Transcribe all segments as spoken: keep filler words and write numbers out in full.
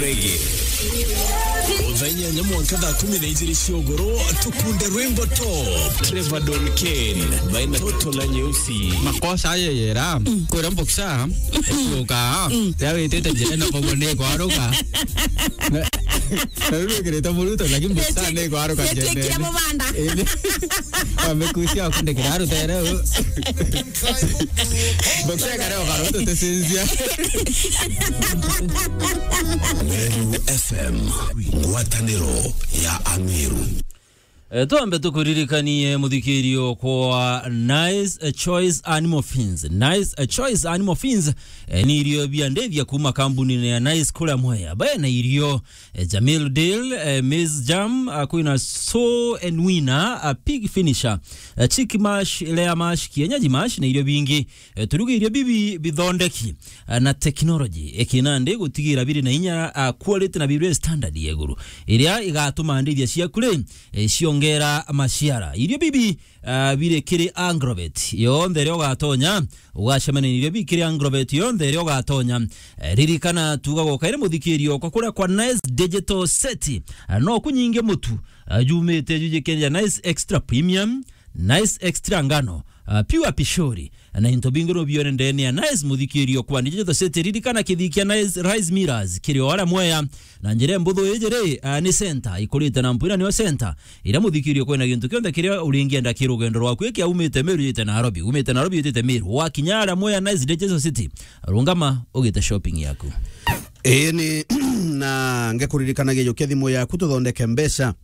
Reggae. Thaa inyanya mwanka thaa kumi na ijiri cia ugoro, tukunde rwimbo top. Trevor Don Kane, baina toto la nyeusi. Makosa aye yera, kwira mboksa, kuruka, ya witite njira na bobo ni kwaruka. Na, na riu wikirite muruto, lakini mboksa ni kwaruka. Nitiikire mubanda. Indi, wamekucia wakundikira rutere. Mboksa kare ukaruto tesinzia. Meru F M, ngwataniro ya Ameru. Eh, twambe tukuririkanie muthikirio kwa Nice, eh, Choice Animal Feeds. Nice, eh, Choice Animal Feeds, eh, ni irio bia ndithia kuma kambunine ya Nice kuria Mwea. Bena irio, eh, Jamil Dale, eh, Maize Jam, ah, kwina Sow and Winner, ah, Pig Finisher, eh, Chick Mash, Layer Mash, Kienyeji Mash na irio bingi. Eh, turuge irio bibi bithondeki, ah, na technology. Eki nandi gutigira biri na inya, ah, quality na biri standard ya iguru. Iria igatuma ndithia ciaku ri, eh, ciongera maciara. Irio bibi, ah, biri kiri Agrovet. Yonthe iria ugatonya, ugacemania na irio bibi kiri Agrovet. Yonthe iria ugatonya. Eh, ririkana tuga gokaire muthikirio kwa kuria kwa Nice Digital Set. Ah, no kunyinge mutu, ah, jumite jujikenia Nice Extra Premium, Nice Extra Ngano, ah, Pure Pishori, na into bingi no bione ndene ya Nice muthikirio kwa Digital Set. Ririkana kithii kia Nice Rice Millers kiri o aria Mwea, na njira mbuthu iji ri, ah, ni center ikurite na mpwina niyo center iria muthikirio kwina gintu kionthe kiria uringienda ki rugendo rwaku iki aumite Meru yite Nairobi, umite Nairobi yitite Meru, wakinya aria Mwea Nice Digital City, rungama ugite shopping yaku. Ii ni na ngekuririkanagia jukia thimu yaku tuthondeke mbeca.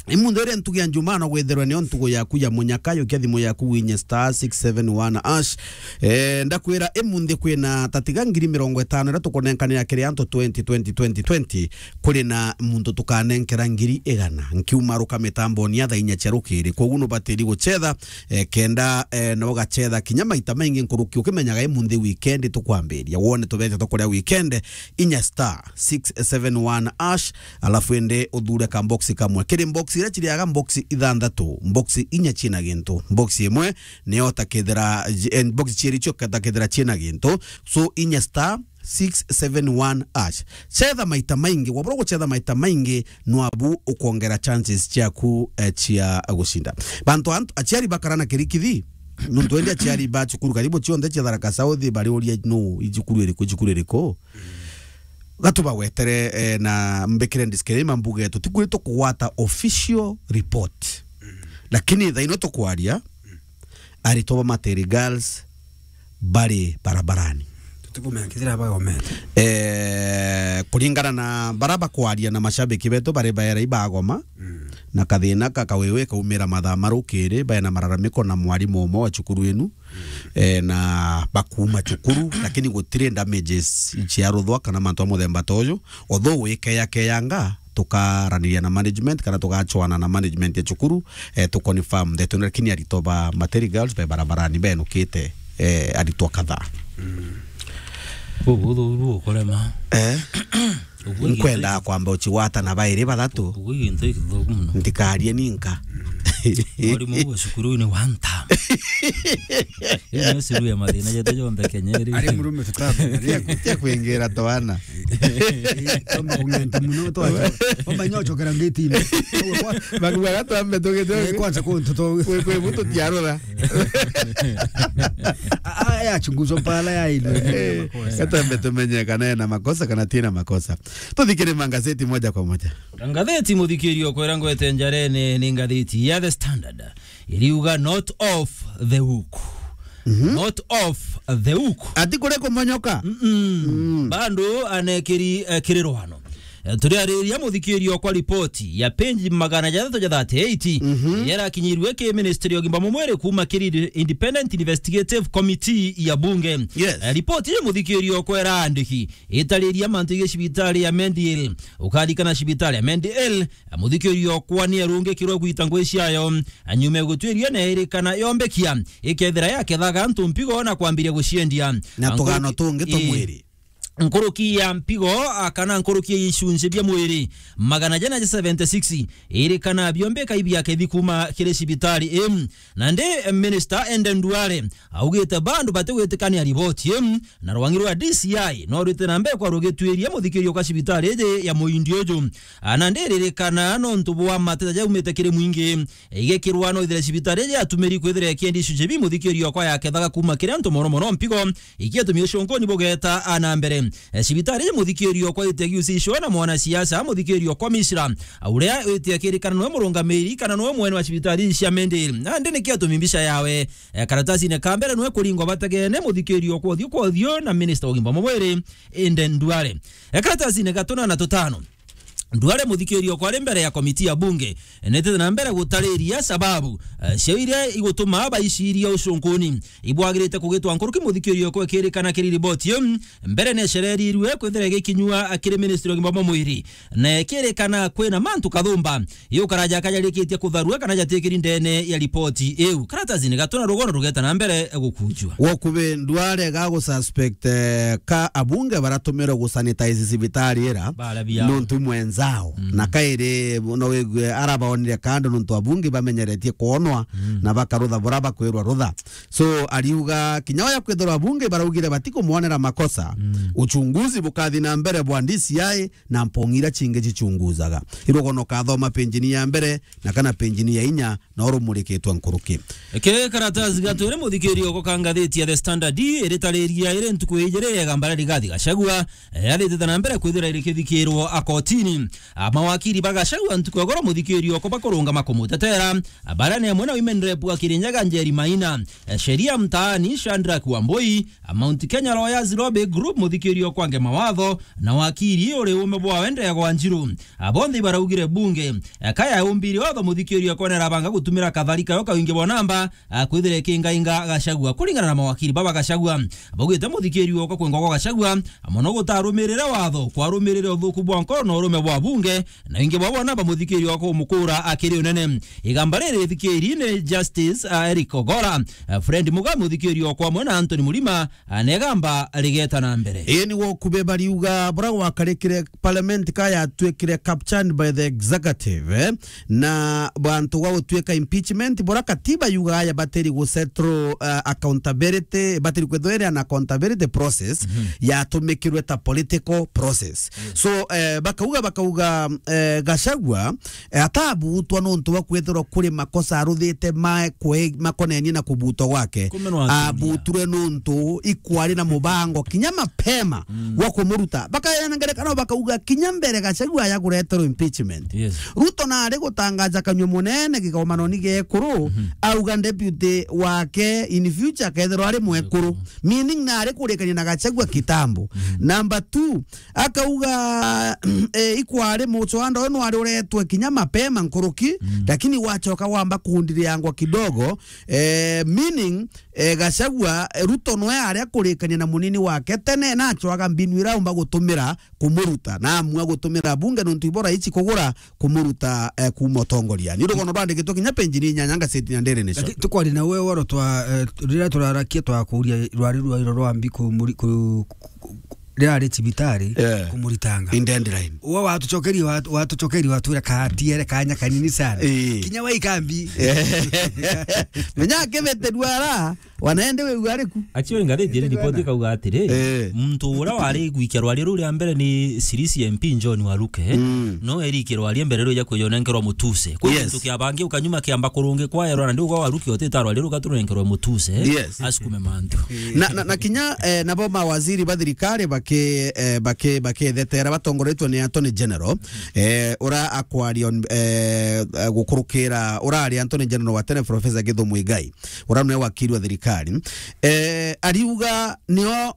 Imunthe iria ntugi ya Njumaa no gwithirwe niyo ntugu yaku ya munyaka, yukia thimu yaku winye star six seven one hash. Eh, ndakwira imunthe kwina tatiga ngiri mirongo itano iria tukunenkanira kiri antu twenty, twenty, twenty, twenty. Kuri na muntu tukanenkera ngiri igana. Nkiumaruka mitamboni ya thaa inya cia rukiri. Koguo nubatiri gucetha, eh, kenda, eh, na ugacetha kinya maita maingi nkuruki ukimenyaga imunthe weekend tukwambiria. Wone tubete tukuria weekend, inya star six seven one hash, alafu ende uthure ka box kamwe. Kiri box iria ciriaga box ithanthatu, box inya ciina gintu. Box imwe niyo utakethira, eh, box ciiri cio utakethira ciina gintu. So, inya star six seven one hash. Cetha maita maingi, wabura gucetha maita maingi, nwabu ukwongera chances ciaku, eh, cia gucinda. Bantu antu, aciari bakara na kirikithi, nuntu endi aciari ba cukuru karibu cionthe cia Tharaka South, bariuria, "No, i cukuru iriku, i cukuru iriku?" Gatu bagwetere, eh, na mbikire disclaimer mbuge, tutikwiri tukugwata official report. Lakini thaa ino tukwaria, aritwa ba Materi Girls bari barabarani. Tutikumenya kithira bagomete. Eh, kuringana na bara bakwaria na mashabiki betu bari baera ibagoma, na kathina ka kawewe kaumira mathaa marukiri, baena mararamiko na mwarimu umwe wa cukuru inu. Eh, na bakuuma cukuru, lakini gutiri damages ciaruthwa kana mantu a muthemba ta uyu. Although wikeyakeyanga, tukaraniria na management kana tugachwana na management ya cukuru, eh, tu confirm the tune, lakini aritwa ba Materi Girls be barabarani benukite, eh, aritwa kadhaa. Bubuthu buru ukurema. Eh? Uguo nkwenda kwamba ucigwata na bairi bathatu. Uguo gintu githuku muno. Ndikarie ninka. Mwarimu wa cukuru ni one time. Iyo niyo cukuru ya mathina jetu jonthe Kenya iri. Ari murume tutambe. Tia kwingira twana. Toma kung'enta muno twacha. Toma nyocokera ngitini. Bakuga twambe tugite. Eh, kwanza kuntu to. Kwe, kwe mutu tiarora. Ah, ah, ya chunguzo pala ya ilo. Eh, makosa. Gatambe tumenye kana ena makosa kana tina makosa. Tuthikire mangazeti moja kwa moja. Ngatheti muthikirio kwera ngwete njarene ni ngatheti ya The Standard. Iriuga not off the hook. Not off the hook. Ati kuri kumonyoka? Mm-mm. Bado anekiri, eh, kiri rwano. Eh, turiariria muthikirio kwa ripoti ya page magana jathatu ja thirty-eight, iria irakinyirue ki ministry ya ugima bwa mwiri kuma kiri Independent Investigative Committee ya bunge. Yes. Eh, ripoti ya muthikirio kwera andiki itariria mantu ya cibitari ya Mendiel. Ukarikana cibitari ya Mendiel, muthikirio kwa ni arungikirwe gwita ngui ciayo, anyume gutwiria na iri kana yombekia, ikethira yakethaga antu mpigo na kwambiria guciendia. Na tugano tungi twa mwiri. nkuruki ya mpigo, a, kana nkuruki ya icunci bia mwiri magana jana ja seventy six, iri kana biombe kai biakethi kuma kiri cibitari ii. Nandi Minister Eden Duale augite bandu batigwitikania riboti ii, na rwangi rwa D C I no rwite na mbere kwa rugituiria muthikirio kwa cibitari iji ya muindi uju. A, nandi ririkana nontu bwa mateta jaumite kiri mwingi, igikirwa no ithire cibitari iji yatumiri kwithira ikiendi icunci bi muthikirio kwa yakethaga kuma kiri antu mono mono mpigo, ikiatumia ucunkuni bugeta a na mbere. E, cibitari iji muthikirio kwa ite giusishwa na mwanasiasa muthikirio kwa Mishra, uria wite akirikana noe murungamiri kana noe mwene wa cibitari iji cia Mende. Nandi nikiatumi mbica yawe, e, karatasine ka mbere noe kuringwa bategene muthikirio kwa uthiu kwa uthiu na Minister wa ugima bwa mwiri, Eden Duale. E, karatasine ga tuna na tutano, Duale muthikirio kwa ari mbere ya komiti ya bunge, nitite na mbere gutariria sababu, eh, cia iria igutuma baiciria ucunkuni ibwagirite kugitwa nkuruki muthikirio kwa ikirikana kiri riboti iu. Mbere ni ecererirwe kwithira igikinyua kiri ministry ya ugima bwa mwiri, na ikirikana kwina mantu kathumba yukaraja kajarikitie kutharua kana jatikiri ndene ya riboti iu. Karatasini ga tuna rugono rugeta na mbere gukunjua. Wokubi Duale ga gususpect, eh, ka abunge baratumirwe gusanitize cibitari ira. Bara biao. Nontu mwenzao. Mm. Na kairi no wigue arabaonire kando nontu abunge bamenyeretie kwonwa. Mm. Na bakarutha bura bakwirwa rutha. So, ariuga kinya oya kwithirwa abunge baraugire batikumwonera makosa. Mm. Uchunguzi bukathi na mbere bwa D C I na mpong'i iria cingi cichunguzaga. Irugono kathoma penjini ya mbere na kana penjini ya inya na urumurikitwe nkuruki. Ke karatasi ga twiri muthikirio ko ka ngathiti ya The Standard iritariria iri ntuku ijiri ya igamba ria Rigathi Gachagua, eh, yathitite na mbere kwithira irikithikirwo akotini. A, mawakiri ba Gachagua ntuku ya goro muthikirio ko bakurungama kumutetera, a, baria ni amwe na Women Rep wa Kirinyaga Njeri Maina, eh, Sheria Mtaani Shadrack Wambui, a, Mount Kenya Lawyers Lobby Group muthikirio kwa nge mawatho, na wakiri uri ume bwawe Ndegwa Njiru. A, bonthe ibaraugire bunge, a, ka yaumbire watho muthikirio kona irabanga gutumira kathari kayo kawingi bwa namba, a, kwithira ikingainga Gachagua. Kuringana na mawakiri baba Gachagua, baugite muthikirio kwa kwengwa kwa Gachagua, a, mono gutarumirire watho, kwarumirire uthuku bwa nkoro na urume bwa bunge, na wingi bwa bwa namba muthikirio kwa kumukura akiri unene. Igamba riri ithikiri ni Justice, a, Eric Ogora, a, Fred Muga muthikirio kwa mwe na Anthony Murima, a, na igamba rigeta na mbere. Ii ni wokubi bariuga bura gwakarikire parliament ka yatwikire captured by the executive, eh, na bantu gwa gutwika impeachment, bura katiba yugaga yabatiri gusettle, uh, accountability, batiri kwithwa iri an accountability process, mhm, yatumikirwe ta political process. Yes. So, eh, bakauga, bakauga, eh, Gachagua, eh, atabutwa nontu bwa kwithirwa kuri makosa aruthite ma kwe-, makonenie na kubutwa gwake. Kumenwa atumia. Abuture nontu ikwari na mubango kinya mapema, mm, wa kumuruta. Bakaena ngerekano bakauga kinya mbere Gachagua ya kureterwo impeachment. Yes. Ruto nari gutangaja kanyua munene gigomanoni gekuru, mhm, auga deputy wake in future akethirwa ari mwekuru. Mwekuru. Meaning nari kurikania na Gachagua kitambo. Mhm. Number two, akauga, eh, ikwari mucwanda uyu nwari uretwe kinya mapema nkuruki, mm, lakini wachoka wamba kundiriangwa kidogo, eh, meaning, eh, Gachagua, eh, Ruto nwe aria kurikania na munini wake tene, na acwaga mbinu ira aumba gutumira kumuruta, na amua gutumira bunge nontu ibora ici kugura kumuruta, eh, kuuma utongoria. Ni rugono rwandikitwe kinya penjini inyanya ngaseti na ndere nisho. Laki-, tukwaria na we woro twa, eh, riria turarakia twakuria rwari rwa iro rwa mbi kumuri-, ku-, ku-, ku-, riria ari cibitari, yeah, kumuritanga. In deadline. Uwe watucokeria, watu-, watucokeria watwira katiere kanya kanini sana. Eh. Kinya wa ikambi. Menya akebete duara, wanaende we uariku. Actually, ngathiti iri ripoti ikauga atiri, eh, muntu uria wari gwikia rwari ruu ria mbere ni Sirisi M P John Waruke, mm, no erikie rwari mbere ruu ja kwijonenkerwa mutuse. Kwa, yes, gintu kia bangi ukanyuma kiamba kurungi kwa erwa, na ndiuga Waruke otita rwari ruu gaturunenkerwa mutuse. Yes. Asukume mantu. Na, na, na kinya, eh, nabo mawaziri ba thirikari baki-, eh, baki-, bakithetera batongoretwe ni Attorney General, eh, ura akwaria on, eh, eh, gukurukira urari Attorney General wa tene Professor Githu Muigai, ura nwe wakiri wa thirikari. Eh, ariuga nio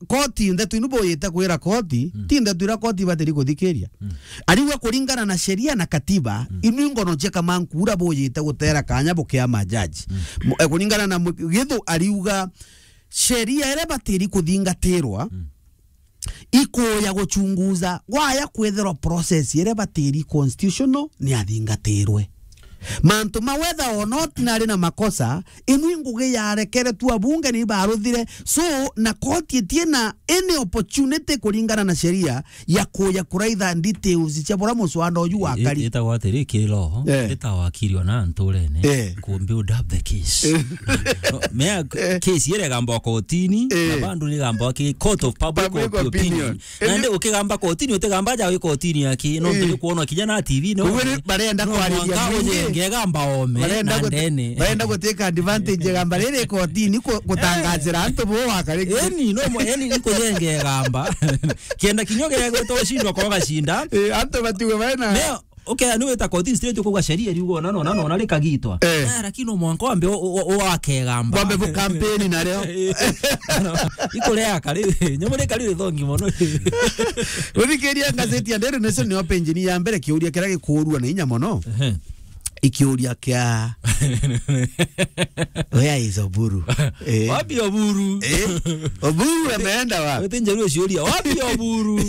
koti ndeto inu buyite kwira koti, mm, ti ndeto ira koti ibatiri kuthikiria. Mm. Ariuga kuringana na sheria na katiba, mm, inu ingono cia Kamankura buyite gutera kanya bukia majaji. Mm. Mu-, eh, kuringana na mu-, Githu ariuga sheria iria batiri kuthingatirwa, mm, ikuya guchunguza, waya kwithirwa process iria batiri constitutional ni athingatirwe. Mantu ma whether or not nari na makosa, inu i ngugi yarekere tu abunge ni baruthire. So, na koti itie na any opportunity kuringana na sheria ya kuya kuraitha details cia bura muswanda uju wakari. Itagwa atiri, ki law, eh, ita wakiri ona nturene, eh, ku build up the case. Eh. No, mea, eh, case ire gamba kotini, eh, na bandu ni gamba ki court of public, public opinion. Opinion. Nandi ukigamba kotini, utigamba ja wi kotini aki, no, eh, turi kuona kinya na T V, no. Kuwe ni barenda no, kwariria mwanka mwingi. Ujenge gamba ome, barenda na gute-, ndene. Barenda guteka advantage ya gamba riri kotini ku-, gutangazira antu bo wakari. Eni, no, mo-, eni, ni kujenge gamba. Kienda kinyo gigwita ushindwa kwa gashinda. Eh, antu batiwe baina. Neo, okay, ni wita kotini straight kuga sheria riugo na no, na no, na rikagitwa. Eh. Eh, lakini no mwanka wambe u-, u-, u-, wake gamba. Wambe bu campaign na reo. Ikurea kari, nyamurika riri thongi mono. Uthikiria ngazeti ya Daily Nation ni openjini ya mbere kiuria kiria gikuurua na inya mono. Ehe. Ikiuria kia, "Where is Oburu?" Eh. Wapi Oburu? Eh? Oburu ameenda wapi? Wote njaruo ciuria, "Wapi Oburu?"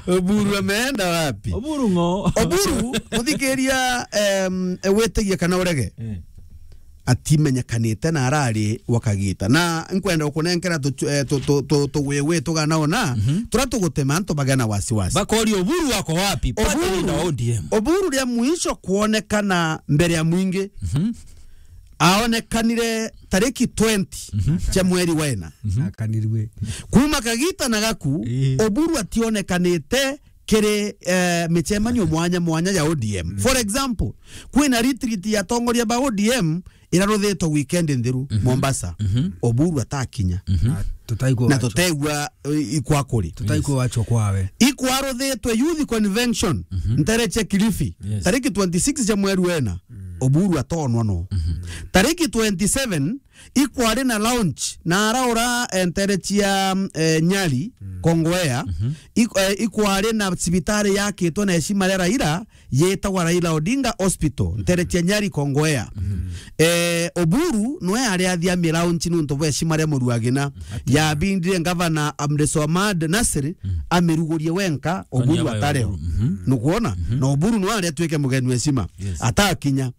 Oburu ameenda wapi? Oburu ng'o? Oburu, muthikiria, em, wetigie kana urege. Eh. Atimenyekanite na arari wa kagita. Na nkwenda gukunenkera tu-, eh, tu-, tu-, tu-, tugwigwi tugana ona, mhm, turia tugutema antu bagea na wasiwasi. Bakori Oburu wako wapi? Party leader wa O D M. Oburu ria mwisho kuonekana mbere ya mwingi, mhm, aonekanire tariki twenty, mhm, cia mweri wa ina. Mhm. Akanirue. Kuma kagita na gaku, ii, Oburu ationekanite kiri, eh, micemanio mwanya mwanya ya O D M. Mm. For example, kwina retreat ya atongoria ba O D M iraruthitwe weekend nthiru, mhm, Mombasa. Mhm. Oburu atakinya. Mhm. Na tutaigua na wachwa. Tutaigua, eh, ikwa kuri. Tutaigua, yes, wachwa kwawe. Ikwaruthitwe youth convention, mhm, ntere cia Kilifi, yes, tariki twenty-six cia mweri wena. Mm. Oburu atonwa no. Mhm. Tariki twenty-seven, ikwari na launch na araura, eh, ntere cia, eh, Nyali, mm, Kongowea. Mhm. Ik-, eh, ikwari na cibitari yakitwe na heshima ria Raila, yetagwa Raila Odinga Hospital, ntere cia Nyali, Kongowea. Mhm. Eh, Oburu nwe ari athia mi launch nuntu bwa heshima ria Muruagina. Ati- yabindire ngavana Abdulswamad Nasir, mm, amirugurie wenka, Oburu atareo. Mhm. Nukwona? Mhm. Na Oburu nwe ari atwike mugeni wa heshima. Yes. Atakinya.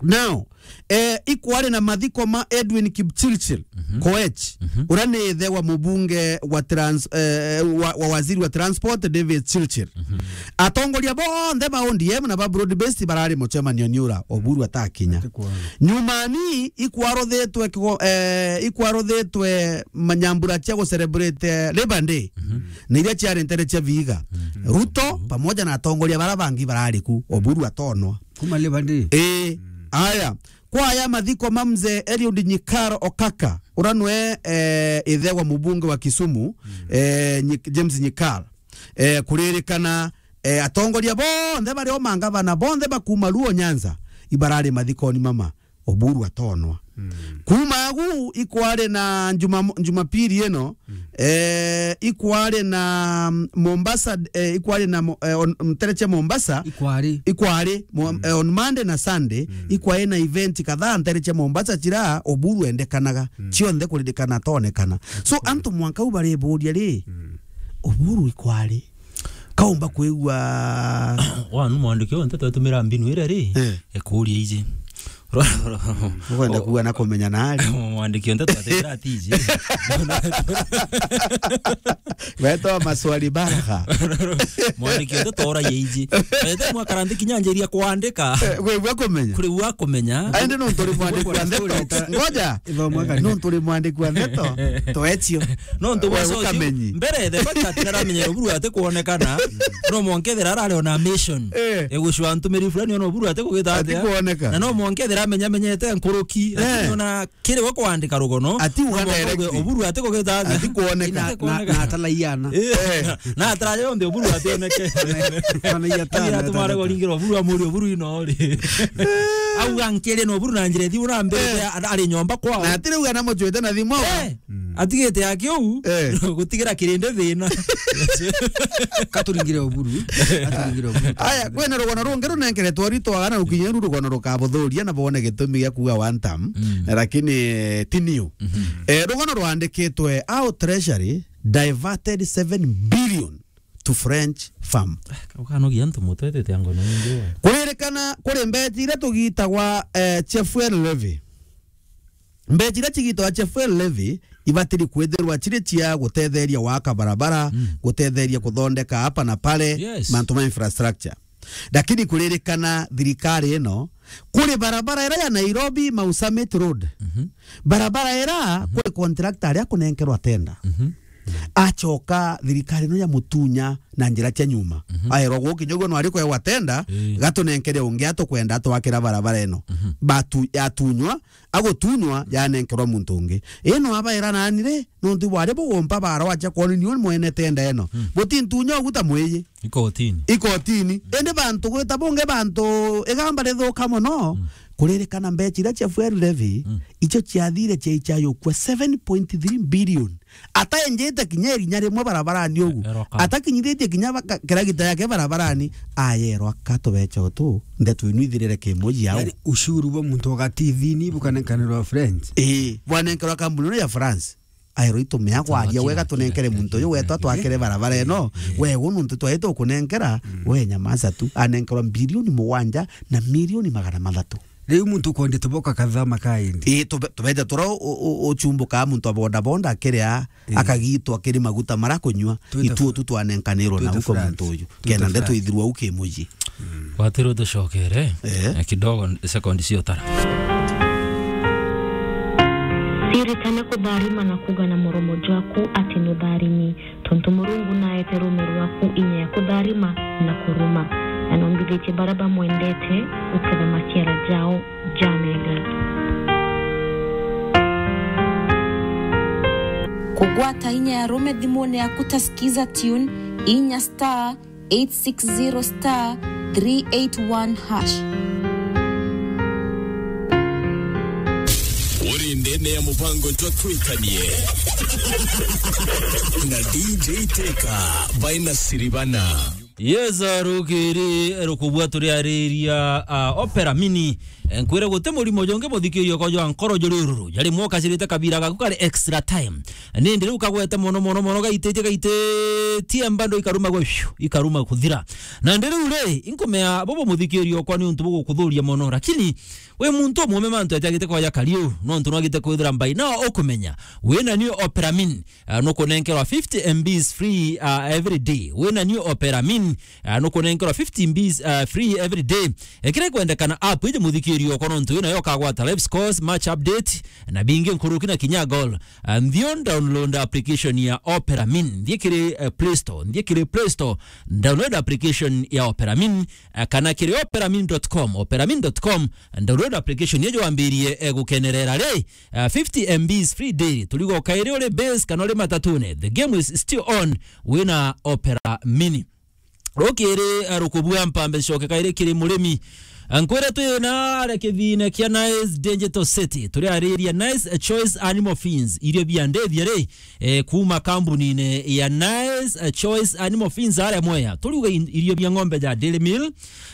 Now, eh, ikwari na mathiko ma Edwin Kipchirchir, mhm, Koech, mhm, uria ni ithe wa mubunge wa trans-, eh, wa, wa waziri wa transport, David Chirchir. Mhm. Atongoria bonthe ba O D M na ba broad based barari mucemanio ni ura Oburu atakinya. Atikwona. Nyumani ikwaruthitwe kigo-, eh, ikwaruthitwe manyambura cia gucelebrate, eh, Labour Day. Mhm. Na iria ciari ntere cia Vihiga. Mhm. Ruto pamoja na atongoria bara bangi barari ku, Oburu atonwa. Kuma Labour Day. Eh, mm, aya. Kwaya mathiko ma mzee Eliud Nyikar Okaka, uria nwe, eh, ithe wa mubunge wa Kisumu, mm, eh, Nyik-, James Nyikar. Eh, kuririkana, eh, atongoria bonthe baria o mangavana bonthe bakuma Luo Nyanza, ibarari mathikoni mama, Oburu atonwa. Mm. Kuma agu ikwari na Juma-, Jumapili ino, mm, eh, ikwari na, mm, Mombasa, eh, ikwari na mo-, eh, on, ntere cia Mombasa. Ikwari. Ikwari, mo-, mm, eh, on Monday na Sunday, mm, ikwari na event kadhaa ntere cia Mombasa cira Oburu endekanaga. Mm. Cionthe kuririkana atonekana. So, antu mwanka u bariburia ri, mm, Oburu ikwari? Kaumba kwigua. Wanu mwandiki o nteto atumira mbinu iria ri, eh, ekuria iji. Ukwenda kuga na kumenya nari? Mwandiki o nteto atumira ati iji. Wetwa maswali baraka. Mwandiki o nteto ora ye iji. Wete mwakara nthi kinya njiria kuandika. Eh, kwi bwa kumenya. Kuri bwa kumenya. Aende no turi mwandiki wa nteto. Ngoja. Ithomo kani. No turi mwandiki wa nteto. Toetio. No ntu we bwa ucio ukamenyi. Mbere the fact that ndaramenyera Oburu ati kuonekana, no mwanka ethira arari ona mission. Eh. Egucwa ntumiri fulani ona Oburu ati kugita atia. Ati kuoneka. Na no mwanka ethira amenya menyete nkuruki, eh, lakini ona kiri we kuandika rugono. Ati uga no mwanka direct. Oburu ati kugita atia. Ati kuoneka. Ati kuoneka. Na, na, na atalaiana. Eh. Eh. Na ataraje yonthe Oburu ationeke. Ana, ana ya tana. Ira tumare kuringira Oburu amuri Oburu ino ri. Au ankiri no Oburu na njira thiu na mbere, eh, ari nyomba kwao. Na atiri uga na mucwete na thimu. Eh. Mm. Atigite yake uu, eh, gutigira kirindi thina. Katuringire Oburu, katuringire Oburu. Aya, kwina rugono rungi runenkeretwe ritwagana rukinyeru rugono rukabuthuria na bone gitumi gia kuuga one term, mm, lakini, eh, ti niu. Mhm. Eh, rugono rwandikitwe, "How Treasury diverted seven billion to French Farm. Ukanogia antu mutwe tete ango na nyingi wa. Kuririkana kuri mbechi iria tugitagwa, eh, Chefuel Levy. Mbechi iria cigitagwa Chefuel Levy ibatiri kwithirwa ciri cia gutetheria waka barabara, mm, gutetheria kuthondeka hapa na pale, yes, mantu ma infrastructure. Lakini kuririkana thirikari ino, kuri barabara ira ya Nairobi Mau Summit Road. Mhm. Barabara ira, mhm, kuri contractor aria kunenkerwa tenda. Mhm. Acoka thirikari ino ya mutunya na njira cia nyuma. Mhm. Aerwa gukinya uguo no ari kwewa tenda, ii, gatunenkere ungi atukwenda atwakira barabara ino. Mhm. Batu-, yatunywa, agutunywa, yanenkerwa muntu ungi. Ino abaira nani ri, nontu bwari bugumpa bara wacha kwoni niu mwene tenda ino. Mm. Butintunya uguta mwiji. Ikotini. Ikotini. Mm. Indi bantu gwita bungi bantu igamba rithuka mono. Mm. Kuririkana mbechi iria cia fuel levy, mm, icio ciathire ciaichayukua seven point three billion. Ataenjete kinya irinya rimwe barabarani ugu. Eroka. Atakinyithitie kinya baka-, kiragita yake barabarani, ayerwa ka tubecha utu, ndeto inu ithirire kimuji au. Yaani, ushuru bwa muntu wa gatithini bukanenkanirwa France. Ii, bwanenkerwa kambuni ino ya France. Aerwa itumia kwaria wega, tunenkere muntu uyu wetwa twakire barabara ino. Ii, ii. Wegu nuntu twaite ukunenkera, mm, we nyamaza tu. Anenkerwa bilioni mugwanja na milioni magana mathatu. Riu muntu ukwendete boka kathama kaindi. Ii, tube-, tubeja tura u-, u-, uchumbuka muntu wa boda boda akiria, ii, akagitwa kiri maguta mara kunywa, twite itu Fra-, tu twanenkanirwo na twite uko France, muntu uyu. Twite kenda ndeto France. Ithirwa u kimuji. Mm. Watiro tucokere, eh, eh, kidogo sekondi cio tara. Siritane kutharima na kuga na muromo jwaku ati nutharimi. Tontu Murungu naete ruume rwaku inya ya kutharima na kuruma, na nombithitie baria bamwendete guketha maciara jao jamega. Kugwata inya ya ruume thimune yaku ta Skiza Tune, inya star eight six zero star three eight one hash. Uri ndene ya mubango jwa Twikanie na D J Teka by Nasiribana. Yes, rukiri rukubua turiariria, ah, Opera Mini. Eh, nkwire guti murimo jongi muthikirio ko jwa nkoro juri ururu. Jari mwoka cirite kabira gaku kari extra time. Nindi riu kagwete mono, mono, mono, gaititie, gaititie mbando ikaruma gwe, fiu, ikaruma kuthira. Na ndi riu ri, inkumea bobo muthikirio okwa ni untu bugukuthuria mono, lakini wi muntu umwe mantu atiagite kwaja kariu, nontu nwagite kwithira mbai. No ukumenya, wina new Opera Mini, ah, nukunenkerwa fifty M Bs free, ah, every day. Wina new Opera Mini, ah, nukunenkerwa fifty M Bs, ah, free every day. Eh, kiria ikwendekana app iji muthikirio okwa nontu wina yo ukagwata live scores, match update, na bingi nkuruki na kinya goal. Ah, nthio download application ya Opera Mini. Nthie kiri, eh, Play Store. Nthie kiri Play Store. Download application ya Opera Mini, eh, kana kiri opera mini dot com. Opera mini dot com, download application yejo wambirie, eh, gukenerera ri, eh, fifty M Bs free daily. Turigo kairi uri base kana uri matatune. The game is still on. Wina Opera Mini. Rukiri, eh, rukubua mpambe coke kairi kiri murimi. Nkwire twina aria kithine kia Nice Digital City. Turiariria Nice Choice Animal Feeds. Irio bia ndithia ri, eh, kuma kambunine ya Nice Choice Animal Feeds aria Mwea. Turiuga in-, irio bia ng'ombe ja dairy meal,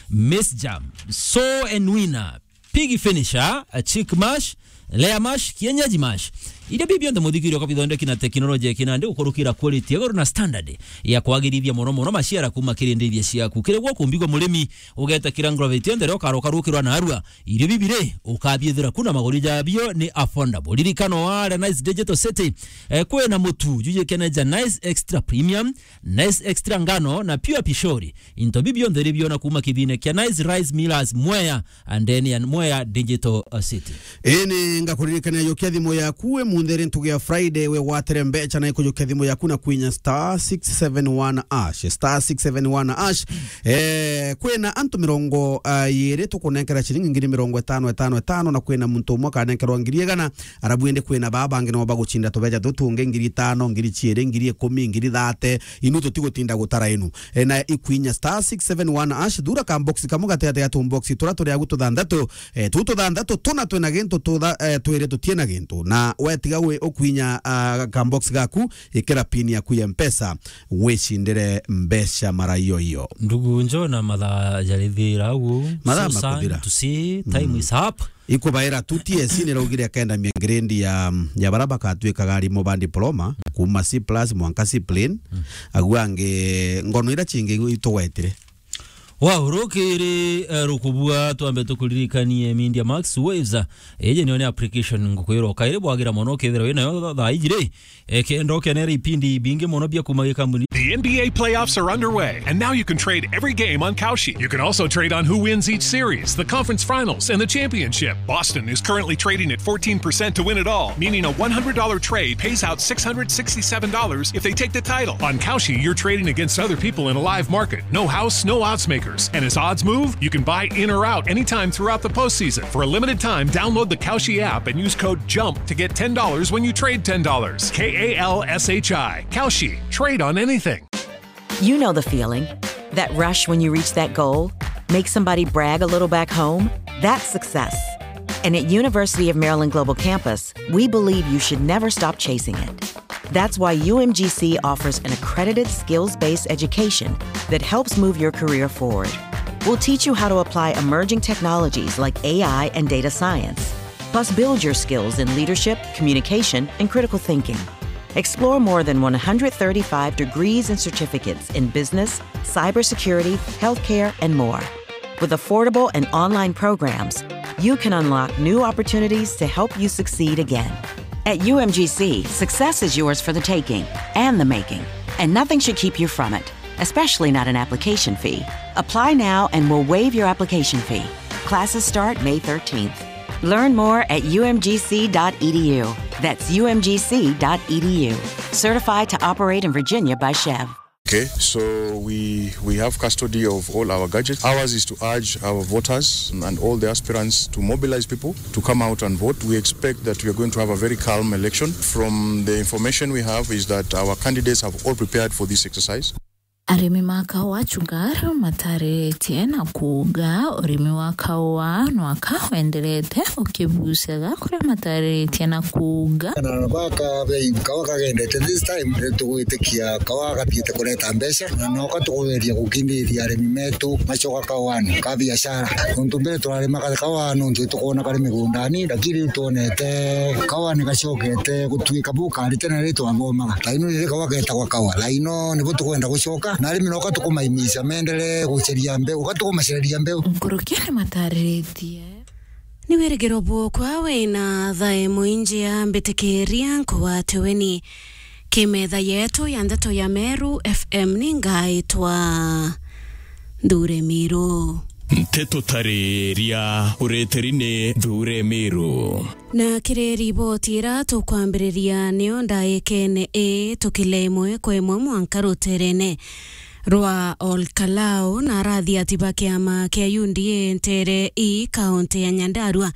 maize germ, sow and weaner, pig finisher, a chick mash, layer mash, kienyeji mash. Irio biu bionthe muthikirio kwa bithondeki na teknoloji ya kinandi gukurukira quality ya iguru na standard ya kwagirithia mono mono maciara kuma kiri ndithia ciaku. Kiri gwo kumbigwa murimi, ugeta kira ngroveti yonthe ria ukaroka rukirwa na arua. Irio bibi ri, ukabiethira ku na maguri jabio ni affordable. Ririkana ware Nice Digital City, eh, kwina mutu jujikene ja Nice Extra Premium, Nice Extra Ngano na Pure Pishori. Into bibi bionthe ri biona kuma kithine kia Nice Rice Millers Mwea, and then ya Mwea Digital, uh, City. Ini ngakuririkania yukia thimu yaku we munthi ri ntugi ya Friday we gwatire mbecha na ikujukia thimu yaku na kwinya star six seven one hash, star six seven one hash. Eh, kwina antu mirongo, ah, iri tukunenkera ciringi ngiri mirongo itano, itano, itano, na kwina muntu umwe akanenkerwa ngiri igana, arabu indi kwina baa bangi nabo bagucinda tubeja tutungi ngiri itano, ngiri ciiri, ngiri ikumi, ngiri thate, inu tutigutinda gutara inu. Eh, na ikwinya star six seven one hash, thura ka box kamwe gatigati ga tu box tura turi agu tuthanthatu, eh, tu tuthanthatu tuna twina gintu tutha-, eh, twiri tutie na gintu. Na wetiga wi ukwinya, ah, ka box gaku, ikira pin yaku ya Mpesa, wicindire mbeca mara iyo iyo. Ndugu njo na mathaa jarithira ugu. Mathaa So sad makuthira. To see, time Mm. is up. Ikubaira tu T S C niraugire akenda miengrade ya, ya bara bakatwikaga arimu ba diploma, kuma C plus mwanka C plain. Mm. Agu angi ngono ira cingi itugwetire. Wow, rukiri, eh, rukubua, twambe tukuririkanie Media Max Waves. Iji niyo ni application ngukwira ukairi bwagira mono ukethira winayo tha-, thaa iji ri. Eh, kenda ukenere ipindi bingi mono bia kuma gikambuni. The N B A playoffs are underway, and now you can trade every game on Kalshi. You can also trade on who wins each series, the conference finals, and the championship. Boston is currently trading at fourteen percent to win it all, meaning a one hundred dollar trade pays out six hundred sixty-seven dollars if they take the title. On Kalshi, you're trading against other people in a live market. No house, no odds makers. And as odds move, you can buy in or out anytime throughout the postseason. For a limited time, download the Kalshi app and use code jump to get ten dollars when you trade ten dollars. K A L S H I. Kalshi. Trade on anything. You know the feeling. That rush when you reach that goal, make somebody brag a little back home. That's success. And at University of Maryland Global Campus, we believe you should never stop chasing it. That's why U M G C offers an accredited skills-based education that helps move your career forward. We'll teach you how to apply emerging technologies like A I and data science, plus build your skills in leadership, communication, and critical thinking. Explore more than one hundred thirty-five degrees and certificates in business, cybersecurity, healthcare, and more. With affordable and online programs, you can unlock new opportunities to help you succeed again. At U M G C, success is yours for the taking and the making, and nothing should keep you from it, especially not an application fee. Apply now and we'll waive your application fee. Classes start May thirteenth. Learn more at U M G C dot E D U. That's U M G C dot E D U. Certified to operate in Virginia by Chev. Okay, so we, we have custody of all our gadgets. Ours is to urge our voters and all the aspirants to mobilize people to come out and vote. We expect that we are going to have a very calm election. From the information we have is that our candidates have all prepared for this exercise. Arimi ma kaua Chugar matariritie na kuuga urimi wa kaua nwaka wenderete ukibucaga kuria matariritie na kuuga. Na baka bei kaua kagendete this time, ni tugwitikia kaua gathiite kureta mbeca, na noka tukugeria gukindiria arimi metu macoka kauani ka biashara. Nontu mbere turarimaga kaua nontu tukwona kari migundani, lakini riu twonete kaua ni gacokete gutuika bu kari tene riria twathomaga. Thaino riri kaua getagwa kaua. Thaino nibo tukwenda gucoka, na arimi noka tukumaimisha meenderee guceria mbeu, uka tukumacereria mbeu. Nkuruki ni matariritie. Ni wirigiro bwokwa wina thaa imwe injia mbitikiria nkugwate weni. Kimetha yetu ya ndeto ya Meru F M ni ngaitwa Nthure Miru. Nteto tariria ureteri ni Nthure Miru. Na kiri riboti ira tukwambiriria niyo ndaikene ii tukile imwe kwa imwe mwanka ruterene rwa Olkalau na arathi ati ba kiama kia U D A ntere ii kaunti ya Nyandarua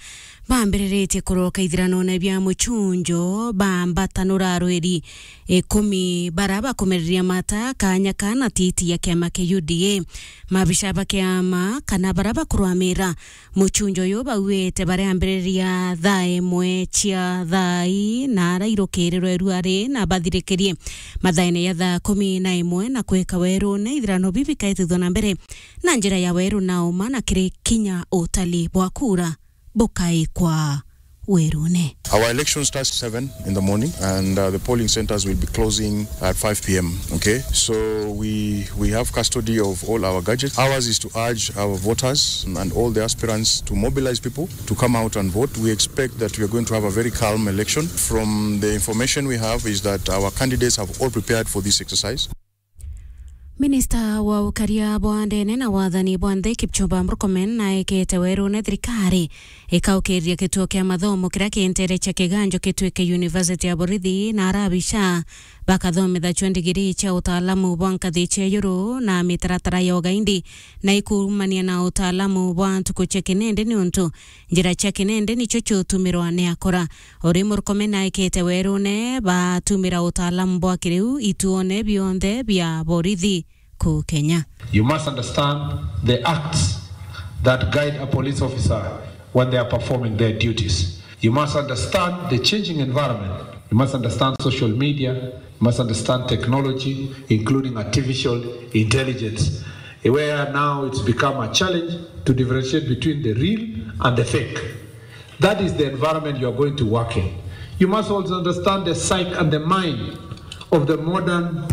bambiriritie kuroka ithiranone bia muchunjo, bambatanura arwiri ikumi bara bakumereria mata kanya kana titi ya kiama kia U D A. Mabica ba kiama kana bara bakurwamira muchunjo uyu bauite bariambiriria thaa imwe cia thaa ii na arairukirirwe ruari na bathirikirie mathaene ya thaa kumi na imwe na kwika werune ithirano bibi kaitithwa na mbere na njira ya weru na uma na kiri kinya utali bwa kura bukaikwa werune. Our election starts seven in the morning and, uh, the polling centers will be closing at five p m. Okay, so we, we have custody of all our gadgets. Ours is to urge our voters and all the aspirants to mobilize people to come out and vote. We expect that we are going to have a very calm election. From the information we have is that our candidates have all prepared for this exercise. Minista wa ukaria bwa ndene na wathani bwa nthi Kipchumba Murkomen naekete werune thirikari ikaukiria gituo kia mathomo kiria kintere cia kiganjo gituike University ya Borithi na arabica bakathomithachua ndigiri cia utaalamu bwa nkathi cia iguru na mitaratara ya ugaindi na ikumania na utaalamu bwa ntuku cia kinende niuntu njira cia kinende nicio ciutumirwa ni akora. Uri Murkomen aikite werune batumira utaalamu bwa kiriu ituone bionthe bia borithi kuu Kenya. You must understand the acts that guide a police officer when they are performing their duties. You must understand the changing environment. You must understand social media. You must understand technology, including artificial intelligence, where now it's become a challenge to differentiate between the real and the fake. That is the environment you are going to work in. You must also understand the psyche and the mind of the modern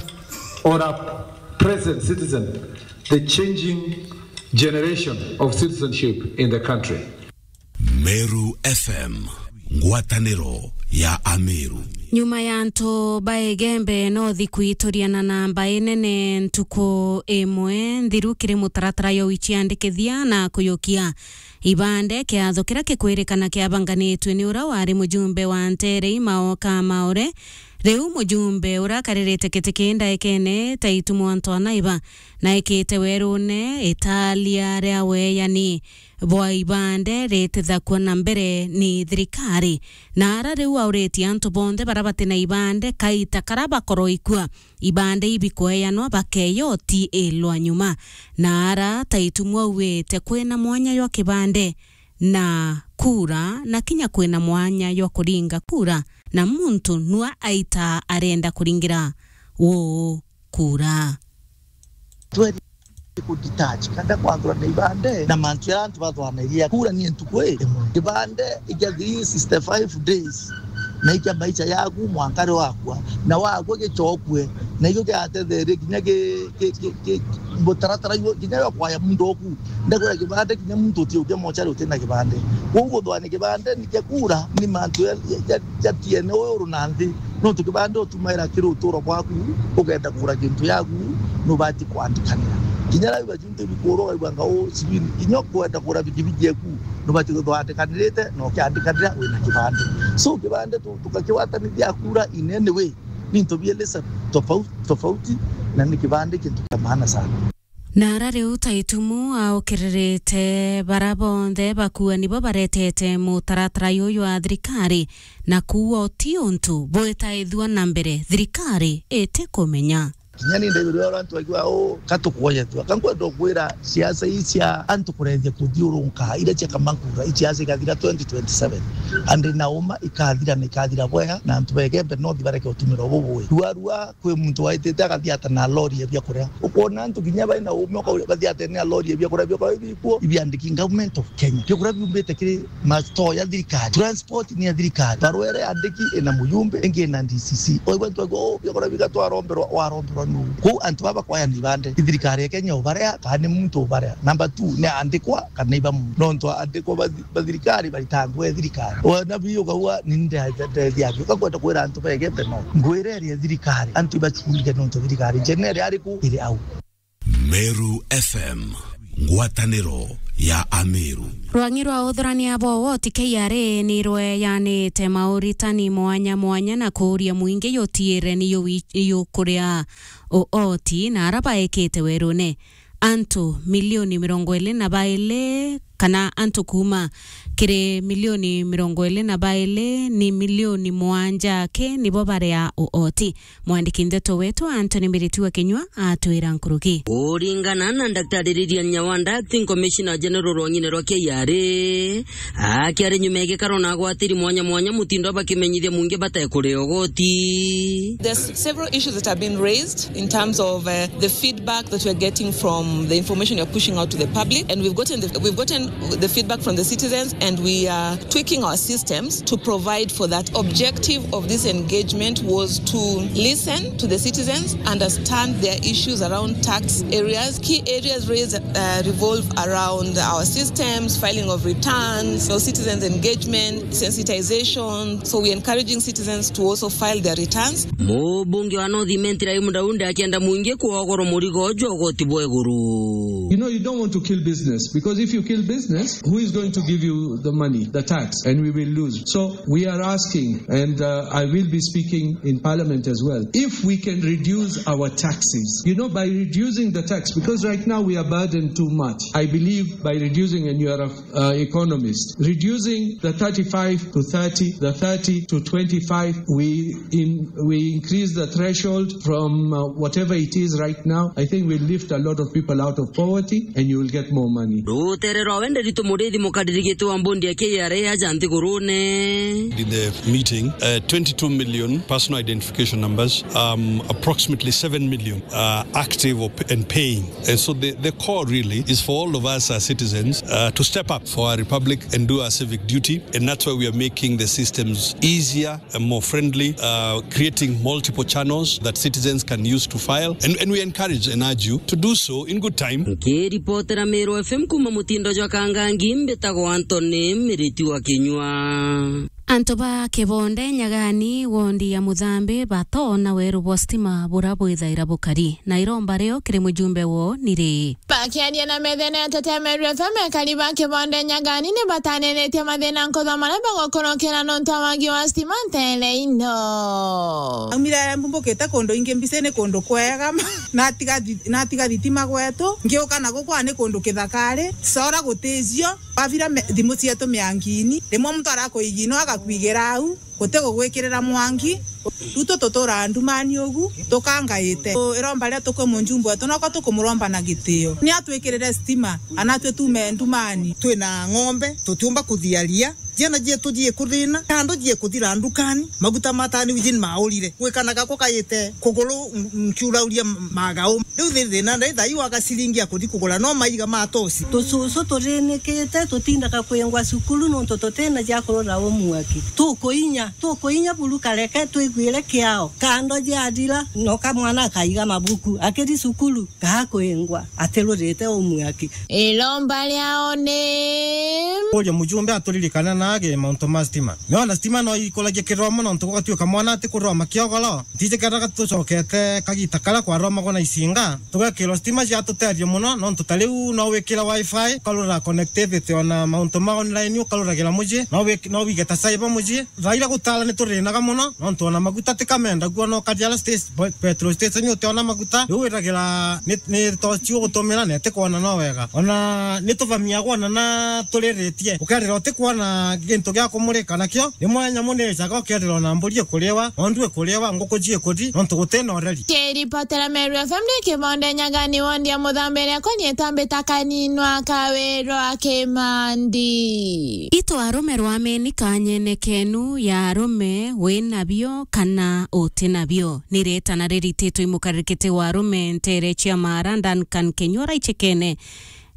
or a present citizen, the changing generation of citizenship in the country. Meru F M, ngwataniro ya Ameru. Nyuma ya antu ba Igembe North kwituriana na mbae nene ntuku imwe nthiru kiri mutaratara ya uiciandikithia na kuyukia ibande, kiatho kiria kikwirikana kiabanganitwe ni uria wari mujumbe wa Nterei Maoka Maore. Riu mujumbe uria akaririte giti kii ndaikene ta itu mwantu anaiba na ikite werune italia ria weyani bwa ibande ritithakua na mbere ni thirikari. Na ara riu auritie antu bonthe baria bati na ibande kaita karia bakorwo ikua ibande ibikweyanwa bakeya utiilwa nyuma. Na ara ta itumwa auite kwina mwanya jwa kibande na kura, na kinya kwina mwanya jwa kuringa kura, na muntu nua aita arenda kuringira uu kura. Tweri kudetach, kanda kwanthurana ibande na mantu ya antu bathwanagia kura ni ntuku imwe. Ibande ikia three sixty-five days, na ikia maisha yaku mwanka ri wakua, na wakua gichokue, na ikio kiatetherie kinya ki, ki, ki, ki, mutaratara igo kinya yo kwaya muntu oku. Ndakwira kibande kinya muntu utiukia mochari utina kibande. Kwou guthwani kibande ni kia kura ni mantu ya, ya, ya, ya T N A uru na nthi. Nontu kibande utumaira kiri uturo bwaku, ukenda kura kintu yaku, nubati kwandikanira. Kinya rau bajunte bikuru ukaigua ngau sijui kinya ukwenda kura bikibiji eku, nubati guthwandikanirite na ukiandikanira wina kibande. So kibande tu, tukakiwatanithia kura in any way. Ni into bielesa tofauti, tofauti, na ni kibande kintu kia maana sana. Na ara riu ta itumu aukiririte bara bonthe bakua nibo baretete mutaratara juju wa thirikari, na kuua uti untu bwitaithua na mbere thirikari itikumenya. Kinya ni ndaigua uria antu bakiuga, "Oh, ka tukuoye tu." Ka nkwenda kwira siasa ii cia antu kurethia kuthiurunka, iria cia kamakura, ii siasa ikathira twenty twenty-seven. And na uma ikathira na ikathira bwega, na antu ba Igembe North bareke utumiro bubui. Rua, rua, kwi muntu waitite agathiata na lori ya biakuria. Ukwona antu kinya bai na ume ukauria bathiate na lori ya biakuria, biakuria bikuo ibiandiki Government of Kenya. Biakuria biumbite kiri ma store ya thirikari. Transport ni ya thirikari. Barua iria yandiki ina mujumbe, ingi ina D C C. Oigwa antu aigua, "Oh, biakuria bigatwaromberwa," waromberwa nu. Kwou antu baba kwaya ni bande. Ni thirikari ya Kenya ubarea, kana ni muntu ubarea. Number two, ni andikwa, kana iba muntu. Nontu andikwa ba, ba thirikari baritangwe thirikari. Ona bi ukaua, ni ndethia, ndethia bi. Ukakwenda kwira antu ba Igembe North. Ngwira iria thirikari. Antu ibachunge nontu thirikari. General ariku iri au. Meru F M, ngwataniro ya Ameru. Rwang'i rwa uthurania bwa woti K R A ni rweyanite mauritani mwanya mwanya na kuuria mwingi yutiire ni yuwi-, yukuria uoti na ara baekite werune. Antu milioni mirongo iri na bairi kana antu kuuma kiri milioni mirongo iri na bairi ni milioni mwanja aki nibo baria uoti. Mwandiki ndeto wetu Anthony Mbiritu wa Kinyua atwira nkuruki. Kuringana na Daktari Lilian Nyawanda, Acting Commissioner General rwang'ine rwa K R A, akiari nyuma ya gikaro na agwatiri mwanya mwanya mutindo bakimenyithia mwingi batekuria ugoti. There's several issues that have been raised in terms of, uh, the feedback that we're getting from the information you're pushing out to the public, and we've gotten the, we've gotten the feedback from the citizens, and we are tweaking our systems to provide for that. Objective of this engagement was to listen to the citizens, understand their issues around tax areas. Key areas raised, uh, revolve around our systems, filing of returns, you know, citizens engagement, sensitization. So we're encouraging citizens to also file their returns. Mubunge wa North Imenti Raimu Daudi akienda mwingi kwogorwa murigo jwa ugoti bwa iguru. You know, you don't want to kill business, because if you kill business, who is going to give you the money, the tax? And we will lose. So we are asking, and, uh, I will be speaking in Parliament as well, if we can reduce our taxes, you know, by reducing the tax, because right now we are burdened too much. I believe by reducing, and you are a, uh, economist, reducing the thirty-five to thirty, the thirty to twenty-five, we in, we increase the threshold from, uh, whatever it is right now. I think we lift a lot of people out of poverty, and you will get more money. Rutere rwa Nderitu Muriithi, mukariri giti wa mbondi ya K R A aja nthigurune. In the meeting, uh, twenty-two million personal identification numbers, um, approximately seven million are active or p-, and paying. And so the, the call really is for all of us as citizens, uh, to step up for our republic and do our civic duty. And that's why we are making the systems easier and more friendly, uh, creating multiple channels that citizens can use to file. And, and we encourage and urge you to do so in good time. Nkiripotera Meru F M kuma mutindo jwa Kangangi, mbitagwa Anthony Miriti wa Kinyua. Antu ba Kibonde Nyagani, wondi ya Muthambi, batoona weru bwa stima bura bwithaira bukari, na iromba rio kiri mujumbe woo ni ri? Bakiaria na methene ya Tetea Meru F M, ekari ba Kibonde Nyagani ni bataniritie mathina nkuthwa maria bagukurukira nontu wa wagi wa stima ntere ino. Aumire mbumbukite kundu ingi mbicini kundu kwega, natiga thi-, natiga thitima gwetu, ngiuka na gukwa ni kundu kithakari, sora guticio, wavira me-, thimu cietu miangini, rimwe muntu arakuigia ino agakwigira au. Guti gugwikirira mwangi, riu tu tuturaga ndumani ugu, tukangaite. Iromba riria tukwi mujumbe wetu, noko tukumuromba na gitio. Ni atwikirire stima, anatwe tuume ndumani. Twina ng'ombe, tutiumba kuthiaria. Ciana cietu ciikuthina, kando ciikuthira ndukani, maguta matani wijin maurire. Gwikanaga kukaite kuguru, nkiurauria magau. Riu thi-, thina ndai thai wa gaciringi ya kuthi kugura no maiga ma tosi. Tucucu turinikite, tutindaga kwingwa cukuru nontu tutina cia kurura umwaki. Tukuinya, tukuinya buru kareke twiguire kiao. Kando ciathira, no kamwana akaiga mabuku, akiri cukuru, gakwingwa, atirurite umwaki. Iromba riao ni. Uria mujumbe aturirikane nage mauntu ma stima. Niona stima no ikuragia kiroma nontu gugatuika mwana atikuroma kiogoro. Ntiji kethira tucokete kagita karia kwaromagwa na icinga, tugekirwa stima ciatutethia mono, nontu ta riu no wikire wifi, ukarura connectivity, ona mauntu ma online ukaruragira mucii, no wik-, no wige ta cyber mucii. Thaa iria gutara ni turinaga mono, nontu ona maguta ti kamenda, guo no ukathi ara station, pe-, petrol station utiona maguta, riu wiragira ni, ni tochi ugutumira na itikwona no wega. Ona ni tuvamiagwa ona na turiritie, ukerira utikwona gintu gia kumurika nakio, rimwe nyamu ni icaga ukerira ona mburi ikuriwa, ng'ondu ikuriwa, nguku ciikuthi, nontu gutina ureri. Kiripotera Meru F M ni Kibonde Nyagani wondi ya Muthambi iria koni itambita kaninwa kawirwa Kimandi. Itu arume rwameni kanyene kenu ya arume wi nabio kana uti nabio. Ni ritana rirititwe i mukarikiti wa arume ntere cia Mara, Duncan Kinyua, raichekene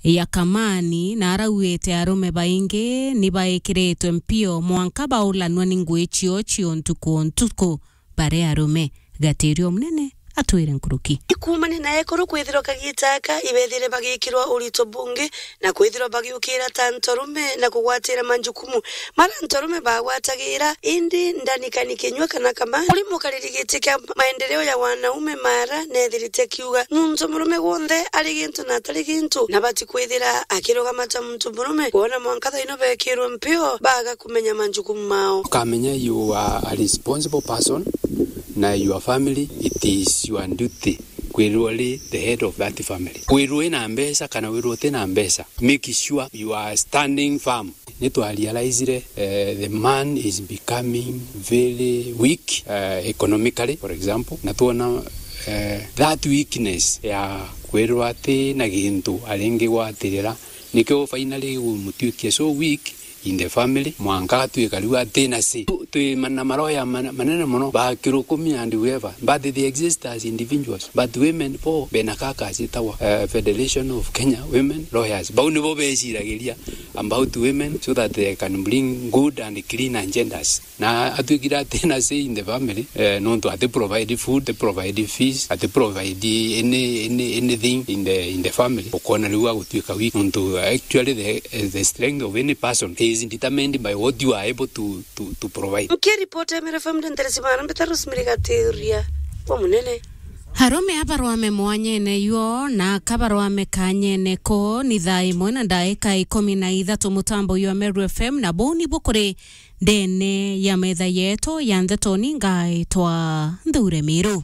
ya Kamani, na arauite arume baingi ni baikiritwe mpio mwanka baulanua ni ngui cio cio ntuku o ntuku. Bare arume, Gatirio Munene atwire nkuruki. Ikumania na ekuru kwithirwa kagita aka ibethire bagikirwa urito bungi na kwithirwa bagiukira ta ntorume na kugwatira manjukumu mara ntorume bagwatagira, indi Duncan Kinyua kana Kamani, uri mukariri giti kia maendeleo ya wanaume Mara, nethirite akiuga muntu murume gwonthe ari gintu na atari gintu, na bati kwithira akirugama ta muntu murume, kwona mwanka thaino bekirwe mpio baga kumenya manjukumu mao. Ukamenya you are a responsible person, na your family, it is your duty kwirwa ri the head of that family. Kwirwa ina mbeca kana wirwa utina mbeca, make sure you are standing firm. Ni twa realizire, eh, the man is becoming very weak, eh, economically, for example, na twona, eh, that weakness ya kwirwa ati na gintu aringigwatirira, nikio finally gumutuikia so weak in the family, mwanka atuika riu atina say. Tu-, twi ma-, na maroya mana-, manene mono, ba Kirukumi and whoever, but they exist as individuals. But women bo bena kaka citagwa, eh, Federation of Kenya Women Lawyers. Bau nibo beciragiria about women so that they can bring good and clean agendas. Na atwikire atina say in the family, eh, nontu ati provide food, ati provide fees, ati provide any, any, anything in the, in the family. Ukona riu agutwika weak, nontu actually the, the strength of any person is determined by what you are able to, to, to provide. Nkiripota Meru F M nderesi bana mbita Rosemary Gatiria wa Munene. Arume abarwame mwanyene yuo na akabarwame kanyene ko ni thaa imwe na ndaika ikumi na ithatu mutambo jwa Meru F M, na buu nibu kuri ndene ya metha yetu ya ndeto ni ngaitwa Nthure Miru.